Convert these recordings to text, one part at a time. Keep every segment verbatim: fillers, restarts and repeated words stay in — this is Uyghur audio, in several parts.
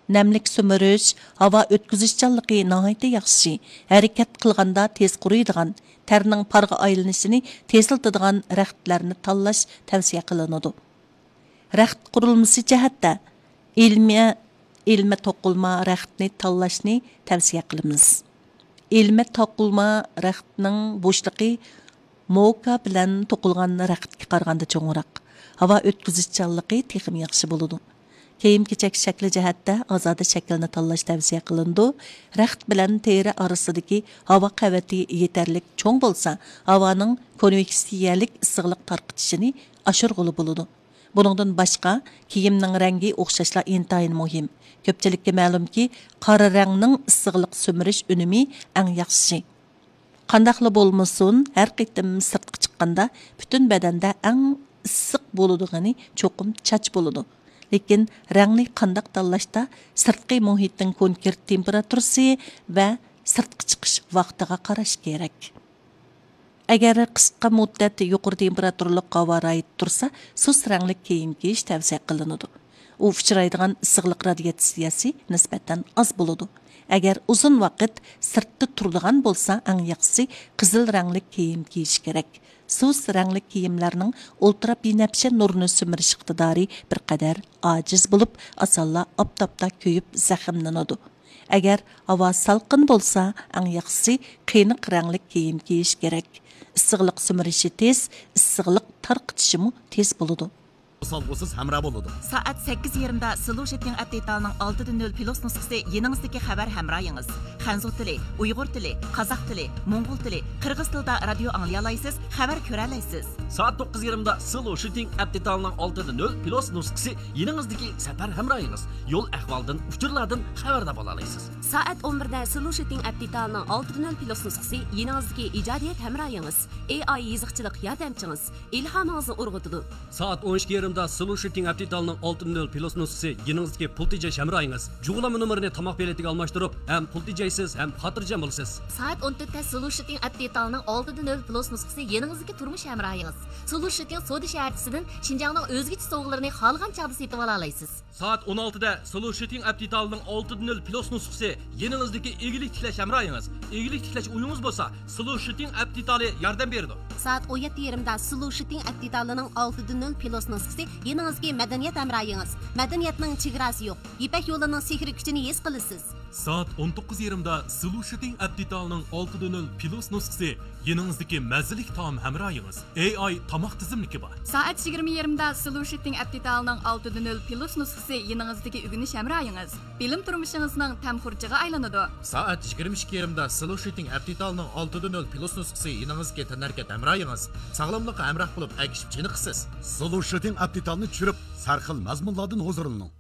نەملىك سۈمۈرۈش، ھاۋا ئۆتكۈزۈشچانلىقى ناھايىتى ياخشى، ھەرىكەت قىلغاندا تېز قۇرۇيدىغان، تەرنىڭ پارغا ئايلىنىشىنى تېزلىتىدىغان رەختلەرنى تاللاش تەۋسىيە قىلىنىدۇ. رەخت قۇرۇلمىسى جەھەتتە ئىلمە، ئىلمە توقۇلما رەختنى تاللاشنى تەۋسىيە قىلىمىز. ئىلمە توقۇلما رەختنىڭ بوشلۇقى موكا بىلەن توقۇلغان رەختكە قارىغاندا چوڭراق، ھاۋا ئۆتكۈزۈشچانلىقى تېخىمۇ ياخشى بولىدۇ. كىيىم-كېچەك شەكلى جەھەتتە ئازادە شەكىلنى تاللاش تەۋسىيە قىلىنىدۇ. رەخت بىلەن تېرە ئارىسىدىكى ھاۋا قەۋىتى يېتەرلىك چوڭ بولسا، ھاۋانىڭ كونۋېكسىيەلىك ئىسسىقلىق تارقىتىشىنى ئاشۇرغىلى بولىدۇ. بۇنىڭدىن باشقا، كىيىمنىڭ رەڭگى ئوخشاشلا ئىنتايىن مۇھىم. كۆپچىلىككە مەلۇمكى، قارا رەڭنىڭ ئىسسىقلىق سۈمۈرۈش ئۈنۈمى ئەڭ ياخشىسى. قانداقلا بولمىسۇن، ھەر قېتىم سىرتقا چىققاندا پۈتۈن بەدەندە ئەڭ ئىسسىق بولىدىغىنى چوقۇم چاچ بولىدۇ. لېكىن رەڭنى قانداق تاللاشتا سىرتقى مۇھىتنىڭ كونكرېت تېمپېراتۇرىسى ۋە سىرتقا چىقىش ۋاقتىغا قاراش كېرەك. ئەگەر قىسقا مۇددەت يۇقىرى تېمپېراتۇرىلىق ھاۋا رايىدا تۇرسا، سۇس رەڭلىك كىيىم كىيىش تەۋسىيە قىلىنىدۇ. ئۇ ئۇچرايدىغان ئىسسىقلىق رادىياتسىيەسى نىسبەتەن ئاز بولىدۇ. ئەگەر ئۇزۇن ۋاقىت سىرتتا تۇرىدىغان بولسا، ئەڭ ياخشىسى قىزىل رەڭلىك كىيىم كىيىش كېرەك. سۇس رەڭلىك كىيىملەرنىڭ ئۇلترا بىنەپشە نۇرىنى سۈمۈرۈش ئىقتىدارى بىر قەدەر ئاجىز بولۇپ، ئاسانلا ئاپتاپتا كۆيۈپ زەخىملىنىدۇ. ئەگەر ھاۋا سالقىن بولسا، ئەڭ ياخشىسى قېنىق رەڭلىك كىيىم كىيىش كېرەك. ئىسسىقلىق سۈمۈرۈشى تېز، ئىسسىقلىق تارقىتىشىمۇ تېز بولىدۇ. سالغۇسىز ھەمراھ بولىدۇ. سائەت سەككىز يېرىمدا سلو شىتىڭ ئەپ دېتالىنىڭ ئالتە دە نۆل پلۇس نۇسخىسى يېنىڭىزدىكى خەۋەر ھەمراھىڭىز. خەنزۇ تىلى، ئۇيغۇر تىلى، قازاق تىلى، موڭغۇل تىلى، قىرغىز تىلىدا رادىيو ئاڭلىيالايسىز، خەۋەر كۆرەلەيسىز. سائەت توققۇز يېرىمدا سلو شىتىڭ ئەپ دېتالىنىڭ ئالتە دە نۆل پلۇس نۇسخىسى يېنىڭىزدىكى سەپەر ھەمراھىڭىز. يول ئەھۋالدىن، ئۇچۇرلاردىن خەۋەردار بولالايسىز. سائەت ئون بىردە سلو شىتىڭ ئەپ دېتالىنىڭ ئالتە دە نۆل پلۇس نۇسخىسى يېنىڭىزدىكى ئىجادىيەت ھەمراھىڭىز. ئېي ئاي يېزىقچىلىق ياردەمچىڭىز. ئىلھامىڭىزنى ئۇرغۇتىدۇ. سائەت ئون ئىككى يېرىمدا سلۇ شىتىڭ ئەپ دېتالىنىڭ ئالتە نۆل پلۇس نۇسخىسى يېنىڭىزدىكى پۇل تېجەش ھەمراھىڭىز. جۇغلانما نومۇرىنى تاماق پېلىتىگە ئالماشتۇرۇپ، ھەم پۇل تېجەيسىز، ھەم خاتىرجەم بولىسىز. سائەت ئون تۆتتە سلۇ شىتىڭ ئەپ دېتالىنىڭ ئالتە دە نۆل پلۇس نۇسخىسى يېنىڭىزدىكى تۇرمۇش ھەمراھىڭىز. سلۇ شىتىڭ سودا شەھەرچىسىدىن شىنجاڭنىڭ ئۆزگىچە سوۋغىلىرىنى خالىغان چاغدا سېتىۋالالايسىز. سائەت ئون ئالتىدە سلۇ شىتىڭ ئەپ دېتالىنىڭ ئالتە دە نۆل پلۇس نۇسخىسى يېنىڭىزدىكى ئىگىلىك تىكلەش ھەمراھىڭىز. ئىگىلىك تىكلەش ئويىڭىز بولسا، سلۇ شىتىڭ ئەپ دېتالى ياردەم بېرىدۇ. سائەت ئون يەتتە يېرىمدا سلۇ شىتىڭ ئەپ دېتالىنىڭ ئالتە دە نۆل پلۇس نۇسخىسى يېنىڭىزدىكى مەدەنىيەت ھەمراھىڭىز. مەدەنىيەتنىڭ چېگراسى يوق. يىپەك يولىنىڭ سېھرىي كۈچىنى ھېس قىلىسىز. سائەت ئون توققۇز يېرىمدا سلۇ شىتىڭ ئەپ دېتالىنىڭ ئالتە دە نۆل پلۇس نۇسخىسى يېنىڭىزدىكى مەززىلىك تائام ھەمراھىڭىز. ئېي ئاي تاماق تىزىملىكى بار. سائەت يىگىرمە يېرىمدا سلۇ شىتىڭ ئەپ دېتالىنىڭ ئالتە دە نۆل پلۇس نۇسخىسى يېنىڭىزدىكى ئۆگىنىش ھەمراھىڭىز. بىلىم تۇرمۇشىڭىزنىڭ تەم خۇرجىغا ئايلىنىدۇ. سائەت يىگىرمە ئىككى يېرىمدا سلۇ شىتىڭ ئەپ دېتالىنىڭ ئالتە دە نۆل پلۇس نۇسخىسى يېنىڭىزدىكى تەنھەرىكەت ھەمراھىڭىز. ساغلاملىققا ھەمراھ بولۇپ ئەگىشىپ چېنىقىسىز. سلۇ شىتىڭ ئەپ دېتالنى چۈشۈرۈپ، سەرخىل مەزمۇنلاردىن ھۇزۇرلىنىڭ.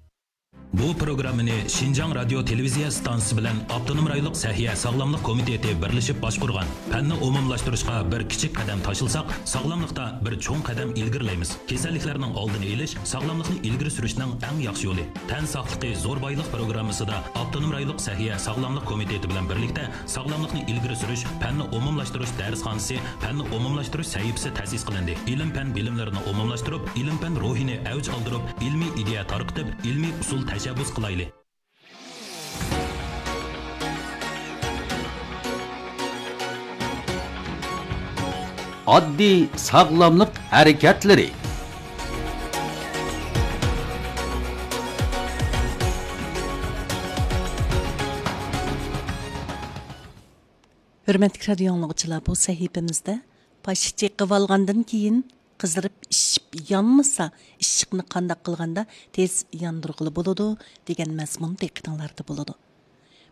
بۇ پروگراممىنى شىنجاڭ رادىيو تېلېۋىزىيە ئىستانسىسى بىلەن ئاپتونوم رايونلۇق سەھىيە ساغلاملىق كومىتېتى بىرلىشىپ باشقۇرغان. پەننى ئومۇملاشتۇرۇشقا بىر كىچىك قەدەم تاشلىساق، ساغلاملىقتا بىر چوڭ قەدەم ئىلگىرىلەيمىز. كېسەللىكلەرنىڭ ئالدىنى ئېلىش، ساغلاملىقنى ئىلگىرى سۈرۈشنىڭ ئەڭ ياخشى يولى. تەن ساقلىقى زور بايلىق پروگراممىسىدا ئاپتونوم رايونلۇق سەھىيە ساغلاملىق كومىتېتى بىلەن بىرلىكتە ساغلاملىقنى ئىلگىرى سۈرۈش، پەننى ئومۇملاشتۇرۇش دەرسخانىسى، پەننى ئومۇملاشتۇرۇش سەھىپىسى تەسىس قىلىندى. ئىلىم-پەن بىلىملىرىنى ئومۇملاشتۇرۇپ، ئىلىم-پەن روھىنى ئەۋج ئالدۇرۇپ، ئىلمىي ئىدىيە تارقىتىپ، ئىلمىي ئۇسۇل تەشەببۇس قىلايلى. ئاددىي ساغلاملىق ھەرىكەتلىرى. ھۆرمەتلىك رادىيو ئاڭلىغۇچىلار، بۇ سەھىپىمىزدە پاشا چېقىۋالغاندىن كېيىن قىزىرىپ ئىششىپ يانمىسا، ئىششىقنى قانداق قىلغاندا تېز ياندۇرغىلى بولىدۇ دېگەن مەزمۇن دىققىتىڭلاردا بولىدۇ.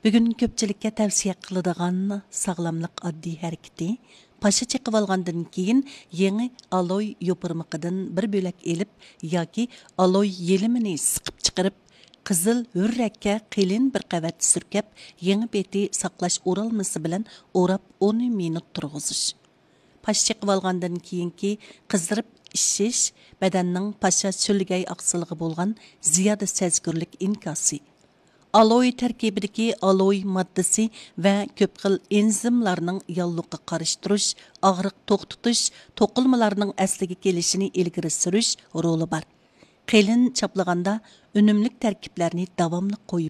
بۈگۈن كۆپچىلىككە تەۋسىيە قىلىدىغان ساغلاملىق ئاددىي ھەرىكىتى، پاشا چېقىۋالغاندىن كېيىن يېڭى ئالوي يوپۇرمىقىدىن بىر بۆلەك ئېلىپ ياكى ئالوي يېلىمىنى سىقىپ چىقىرىپ، قىزىل ھۆررەككە قېلىن بىر قەۋەت سۈركەپ، يېڭى بېتى ساقلاش ئورالمىسى بىلەن ئوراپ ئون مىنۇت تۇرغۇزۇش. پاش چېقىۋالغاندىن كېيىنكى قىزىرىپ ئىششىش بەدەننىڭ پاشا سۈلگەي ئاقسىلىغا بولغان زىيادە سەزگۈرلۈك ئىنكاسى. ئالوي تەركىبىدىكى ئالوي ماددىسى ۋە كۆپ خىل ئېنزىملارنىڭ ياللۇغىغا قارشى تۇرۇش، ئاغرىق توختىتىش، توقۇلمىلارنىڭ ئەسلىگە كېلىشىنى ئىلگىرى سۈرۈش رولى بار. قېلىن چاپلىغاندا ئۈنۈملۈك تەركىبلەرنى داۋاملىق قويۇپ